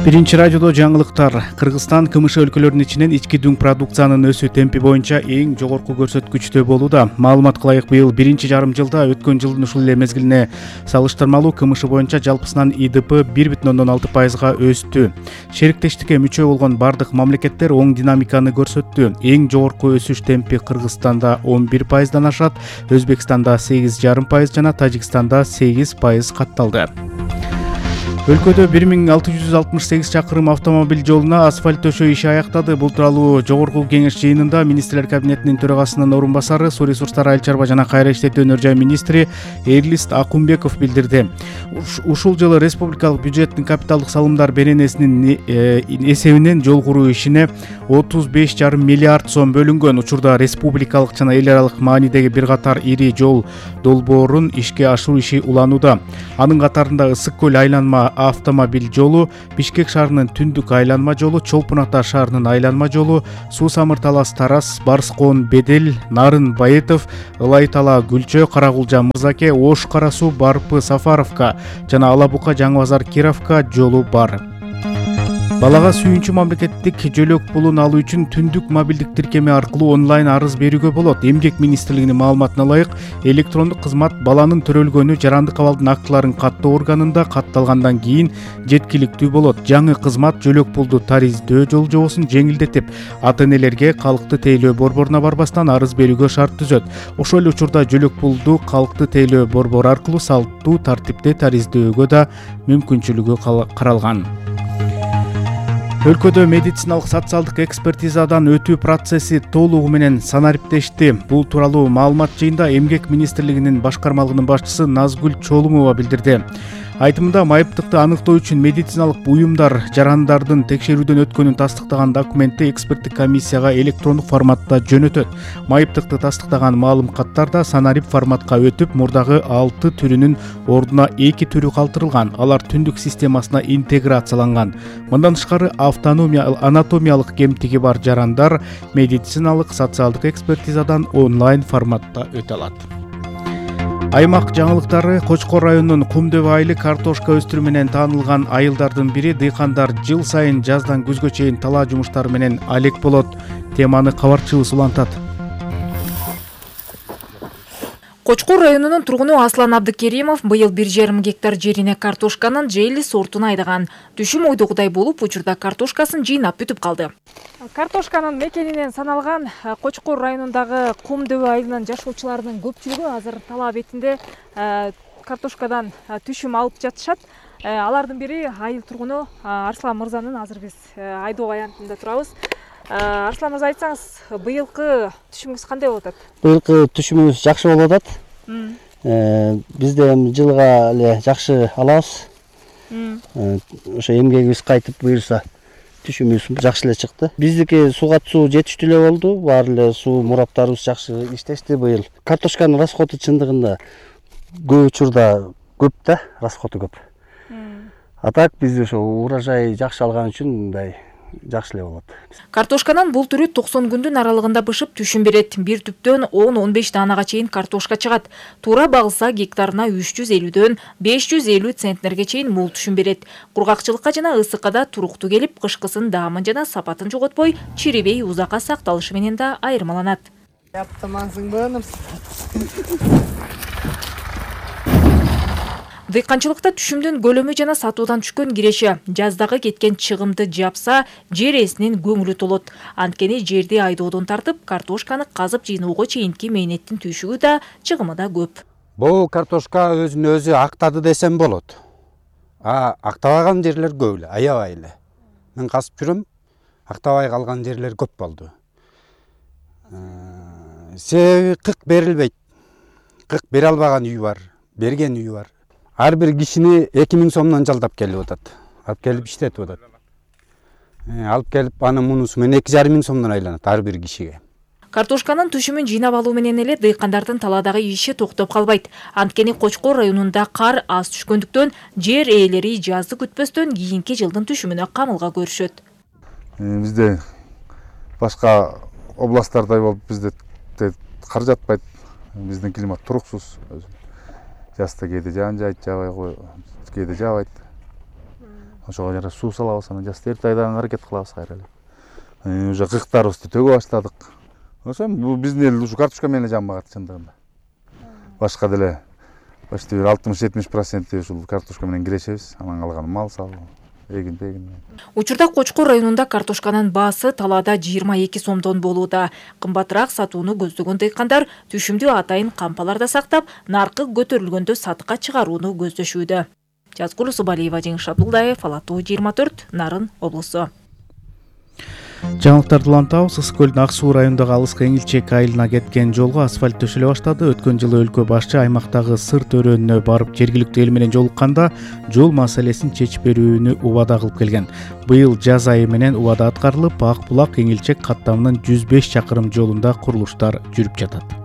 Биринчи радиодо жаңылыктар. Кыргызстан КМШ өлкөлөрүнүн ичинен ички дүң продукциянын өсүү темпи боюнча эң жогорку көрсөткүчтө болууда. Маалыматка ылайык быйыл биринчи жарым жылда өткөн жылдын ушул эле мезгилине салыштырмалуу КМШ боюнча жалпысынан ИДП 1,6%га өстү. Шериктештикке мүчө болгон бардык мамлекеттер оң динамиканы көрсөттү. Эң жогорку өсүш темпи Кыргызстанда 11%дан ашат, Өзбекстанда 8,5% жана Тажикстанда 8% катталды. Өлкөдө 1668 чакырым автомобиль жолуна асфальт төшөө иши аяктады. Бул тууралуу жогорку кеңеш жыйынында Министрлер кабинетинин төрагасынын орун басары, суу ресурстары, айыл чарба жана кайра иштетүү өнөр жай министри Эрлист Акунбеков билдирди. Ушул жылы республикалык бюджеттин капиталдык салымдар беренесинин эсебинен жол куруу ишине 35,5 миллиард сом бөлүнгөн. Учурда республикалык жана эл аралык маанидеги бир катар ири жол долбоорун ишке ашыруу иши уланууда. Анын катарында Ысык көл айланма автомобиль жолу, Бишкек шаарынын түндүк айланма жолу, Чолпун Ата шаарынын айланма жолу, Суу Самыр Талас Тарас, Барскон Бедел, Нарын Байытов, Ылай Тала Гүлчө, Карагулжа Мырзаке, Ош Кара Суу Барпы Сафаровка жана Ала Бука Жаңы Базар Кировка жолу бар. Балага сүйүнчү мамлекеттик жөлөк пулун алуу үчүн түндүк мобилдик тиркеме аркылуу онлайн арыз берүүгө болот. Эмгек министрлигинин маалыматына ылайык, электрондук кызмат баланын төрөлгөнү жарандык абалдын актыларын каттоо органында катталгандан кийин жеткиликтүү болот. Жаңы кызмат жөлөк пулду тариздөө жолжобосун жеңилдетип, ата-энелерге калкты тейлөө борборуна барбастан арыз берүүгө шарт түзөт. Ошол эле учурда жөлөк пулду калкты тейлөө борбору аркылуу салттуу тартипте тариздөөгө да мүмкүнчүлүгү каралган. Өлкөдө медициналык социалдык экспертизадан өтүү процесси толугу менен санариптешти. Бул тууралуу маалымат жыйында Эмгек министрлигинин башкармалыгынын башчысы Назгүл Чолумова билдирди. Айтымында майыптыкты аныктоо үчүн медициналык буюмдар жарандардын текшерүүдөн өткөнүн тастыктаган документти эксперттик комиссияга электрондук форматта жөнөтөт. Майыптыкты тастыктаган маалым каттар да санарип форматка өтүп, мурдагы 6 түрүнүн ордуна 2 түрү калтырылган. Алар түндүк системасына интеграцияланган. Мындан тышкары анатомиялык кемтиги бар жарандар медициналык социалдык экспертизадан онлайн форматта өтө алат. Аймак жаңылыктары. Кочкор районунун Кумдөбө айылы картошка өстүрүү менен таанылган айылдардын бири. Дыйкандар жыл сайын жаздан күзгө чейин талаа жумуштары менен алек болот. Теманы кабарчыбыз улантат. Кочкор районунун тургуну Аслан Абдыкеримов быйыл 1,5 гектар жерине картошканын жейли сортун айдаган. Түшүм ойдогудай болуп, учурда картошкасын жыйнап бүтүп калды. Картошканын мекенинен саналган Кочкор районундагы Кумдөбө айылынын жашоочуларынын көпчүлүгү азыр талаа бетинде картошкадан түшүм алып жатышат. Алардын бири айыл тургуну Арслан мырзанын азыр биз айдоо аянтында турабыз. Арслан мырза, айтсаңыз, быйылкы түшүмүңүз кандай болуп атат? Быйылкы түшүмүбүз жакшы болуп атат. Бизде жылга эле жакшы алабыз. Ошо эмгегибиз кайтып буюрса түшүмүбүз жакшы эле чыкты. Биздики сууга суу жетиштүү эле болду. Баары эле суу мураптарыбыз жакшы иштешти быйыл. Картошканын расходу чындыгында көп учурда көп да, расходу көп. А так биз ошо урожай жакшы алган үчүн мындай жакшы эле болот. Картошканын бул түрү 90 күндүн аралыгында бышып түшүм берет. Бир түптөн 10-15 даанага чейин картошка чыгат. Туура багылса гектарына 350дөн 550 центнерге чейин мол түшүм берет. Кургакчылыкка жана ысыкка да туруктуу келип, кышкысын даамын жана сапатын жоготпой, чирибей узакка сакталышы менен да айырмаланат. Дыйканчылыкта түшүмдүн көлөмү жана сатуудан түшкөн киреше жаздагы кеткен чыгымды жапса, жер ээсинин көңүлү толот. Анткени жерди айдоодон тартып, картошканы казып жыйноого чейинки мээнеттин түйшүгү да, чыгымы да көп. Бул картошка өзүн өзү актады десем болот. Актабаган жерлер көп эле, аябай эле. Мен казып жүрөм, актабай калган жерлер көп болду. Себеби кык берилбейт. Кык бере албаган үй бар, берген үй бар. Ар бир кишини 2000 сомдон жалдап келип атат. Алып келип иштетип атат. Алып келип анын мунусу менен 2500 сомдон айланат ар бир кишиге. Картошканын түшүмүн жыйнап алуу менен эле дыйкандардын таладагы иши токтоп калбайт. Анткени Кочкор районунда кар аз түшкөндүктөн жер ээлери жазды күтпөстөн кийинки жылдын түшүмүнө камылга көрүшөт. Бизде башка областтардай болуп бизде кар жатпайт. Биздин климат туруксуз. Жазда кээде жаан жайт, жабай кийде жабайт. ошого жараша суу салабыз, анан жаз эрте айдаганга аракет кылабыз кайра эле. Уже кыктарыбызды төгө баштадык. Ошо бул биздин эл ушу картошка менен жанбагат чындыгында. Башка деле почти 60-70% ушул картошка менен кирешебиз. Анан калганы мал сал, эгин. Учурда Кочкор районунда картошканын баасы талаада 22 сомдон болууда. Кымбатыраак сатууну көздөгөн дыйкандар түшүмдүү атайын кампаларда сактап, наркы көтөрүлгөндө сатыкка чыгарууну көздөшүүдө. Жазгул Субалиева, Жеңиш Абдулдаев, Ала Тоо 24, Нарын облусу. Жаңылыктарды улантабыз. Ысык көлдүн Ак суу районундагы Алыскы Эңилчек айылына кеткен жолго асфальт төшөлө баштады. Өткөн жылы өлкө башчы аймактагы сырт өрөөнүнө барып жергиликтүү эл менен жолукканда жол маселесин чечип берүүнү убада кылып келген. Быйыл жаз айы менен убада аткарылып, Ак булак Эңилчек каттамынын 105 чакырым жолунда курулуштар жүрүп жатат.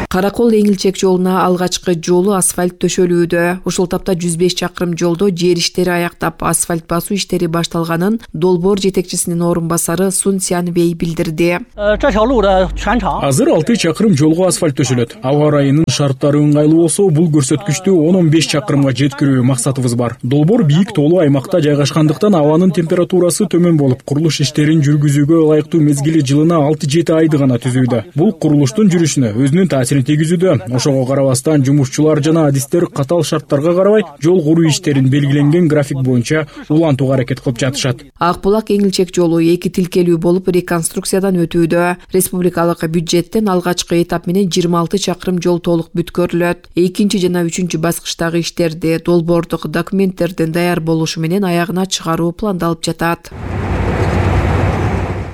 Каракол Эңилчек жолуна алгачкы жолу асфальт төшөлүүдө. Ушул тапта 105 чакырым жолдо жер иштери аяктап, асфальт басуу иштери башталганын долбоор жетекчисинин орун басары Сун Сянбей билдирди. Азыр 6 чакырым жолго асфальт төшөлөт. Аба ырайынын шарттары ыңгайлуу болсо, бул көрсөткүчтү 10-15 чакырымга жеткирүү максатыбыз бар. Долбоор бийик тоолуу аймакта жайгашкандыктан абанын температурасы төмөн болуп, курулуш иштерин жүргүзүүгө ылайыктуу мезгили жылына 6-7 айды гана түзүүдө. Бул курулуштун жүрүшүнө өзүнүн таасирин тийгизүүдө. Ошого карабастан жумушчулар жана адистер катал шарттарга карабай жол куруу иштерин белгиленген график боюнча улантууга аракет кылып жатышат. Ак булак Эңилчек жолу 2 тилкелүү болуп реконструкциядан өтүүдө. Республикалык бюджеттен алгачкы этап менен 26 чакырым жол толук бүткөрүлөт. Экинчи жана үчүнчү баскычтагы иштерди долбоордук документтердин даяр болушу менен аягына чыгаруу пландалып жатат.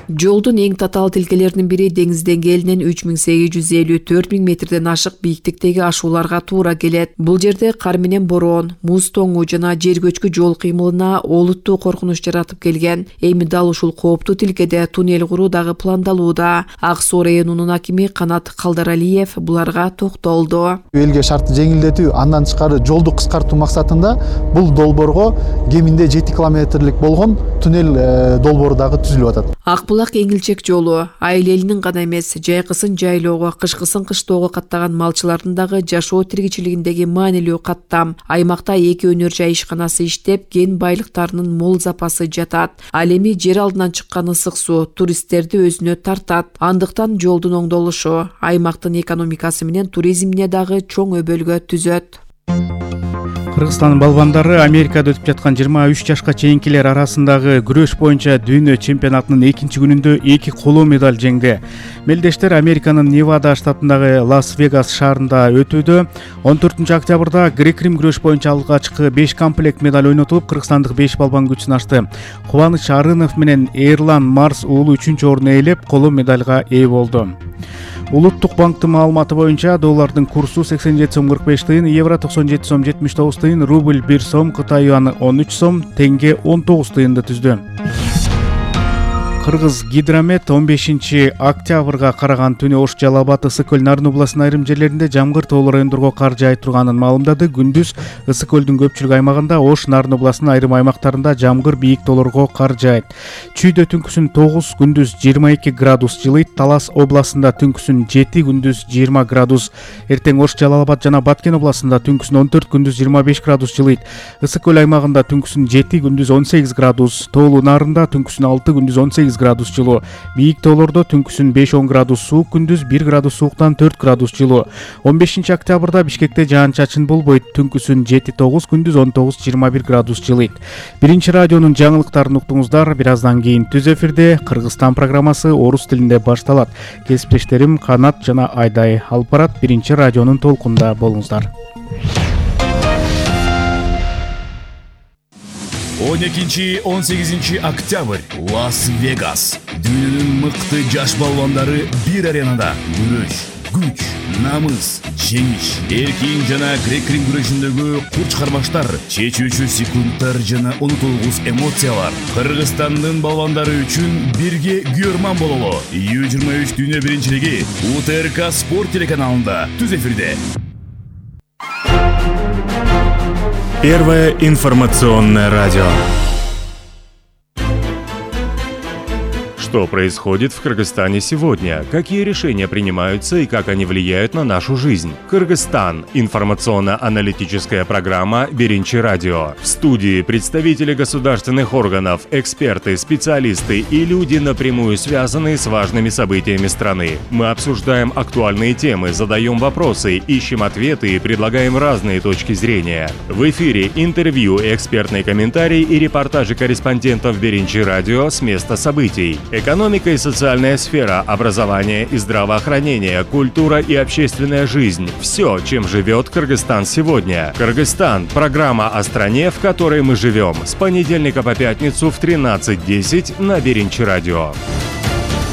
Жолдун эң татаал тилкелеринин бири деңиз деңгээлинен 3850-4000 метрден ашык бийиктиктеги ашууларга туура келет. Бул жерде кар менен бороон, муз тоңуу жана жер көчкү жол кыймылына олуттуу коркунуч жаратып келген. Эми дал ушул кооптуу тилкеде туннель куруу дагы пландалууда. Ак суу районунун акими Канат Калдаралиев буларга токтолду. Элге шартты жеңилдетүү, андан тышкары жолду кыскартуу максатында бул долбоорго кеминде 7 километрлик болгон туннель долбоору дагы түзүлүп атат. Ак булак Эңилчек жолу айыл элинин гана эмес, жайкысын жайлоого, кышкысын кыштоого каттаган малчылардын дагы жашоо тиричилигиндеги маанилүү каттам. Аймакта 2 өнөр жай ишканасы иштеп, кен байлыктарынын мол запасы жатат. Ал эми жер алдынан чыккан ысык суу туристтерди өзүнө тартат. Андыктан жолдун оңдолушу аймактын экономикасы менен туризмине дагы чоң өбөлгө түзөт. Кыргызстандын балбандары Америкада өтүп жаткан 23 жашка чейинкилер арасындагы күрөш боюнча дүйнө чемпионатынын экинчи күнүндө 2 коло медаль жеңди. Мелдештер Американын Невада штатындагы Лас-Вегас шаарында өтүүдө. 14 октябрда грек-рим күрөш боюнча алгачкы 5 комплект медаль ойнотулуп, кыргызстандык 5 балбан күчүн ачты. Кубаныч Арынов менен Эрлан Марс уулу 3-чү орунду ээлеп, коло медальга ээ болду. Улуттук банктын маалыматы боюнча доллардын курсу 87 сом 45 тыйын, евро 97 сом 79 тыйын, рубль 1 сом, Кытай юаны 13 сом, тенге 19 тыйынды түздү. Кыргыз Гидромет 15 октябрга караган түнү Ош, Жалал Абад, Ысык көл, Нарын областынын айрым жерлеринде жамгыр тоолуу райондорго кар жаай турганын маалымдады. Күндүз Ысык көлдүн көпчүлүк аймагында, Ош, Нарын областынын айрым аймактарында жамгыр бийик тоолорго кар жаайт. Чүйдө түнкүсүн 9, күндүз 22 градус жылыйт. Талас областында түнкүсүн 7, күндүз 20 градус. Эртең Ош, Жалал Абад жана Баткен областында түнкүсүн 14, күндүз 25 градус жылыйт. Ысык көл аймагында түнкүсүн 7, күндүз 18 градус. Тоолуу Нарында түнкүсүн 6, күндүз 18 градус жылуу. Бийик тоолордо түнкүсүн 5-10 градус суук, күндүз 1 градус сууктан 4 градус жылуу. 15 октябрда Бишкекте жаан-чачын болбойт. Түнкүсүн 7-9, күндүз 19-21 градус жылыйт. Биринчи радионун жаңылыктарын уктуңуздар. Бир аздан кийин түз эфирде Кыргызстан программасы орус тилинде башталат. Кесиптештерим Канат жана Айдай алып барат. Биринчи радионун толкунда болуңуздар. 12-18 октябрь Лас-Вегас. Дүйнөнүн мыкты жаш балбандары бир аренада күрөш, күч, намыс, жеңиш, эркин жана грек-рим күрөшүндөгү курч кармаштар, чечүүчү секундтар жана унутулгус эмоциялар. Кыргызстандын балбандары үчүн бирге күйөрман бололу. U23 дүйнө биринчилиги УТРК спорт телеканалында түз эфирде. Первое информационное радио. Что происходит в Кыргызстане сегодня? Какие решения принимаются и как они влияют на нашу жизнь? Кыргызстан. Информационно-аналитическая программа «Биринчи радио». В студии представители государственных органов, эксперты, специалисты и люди, напрямую связанные с важными событиями страны. Мы обсуждаем актуальные темы, задаем вопросы, ищем ответы и предлагаем разные точки зрения. В эфире интервью, экспертные комментарии и репортажи корреспондентов «Биринчи радио» с места событий. Экономика и социальная сфера, образование и здравоохранение, культура и общественная жизнь. Все, чем живет Кыргызстан сегодня. Кыргызстан – программа о стране, в которой мы живем. С понедельника по пятницу в 13:10 на Биринчи радио.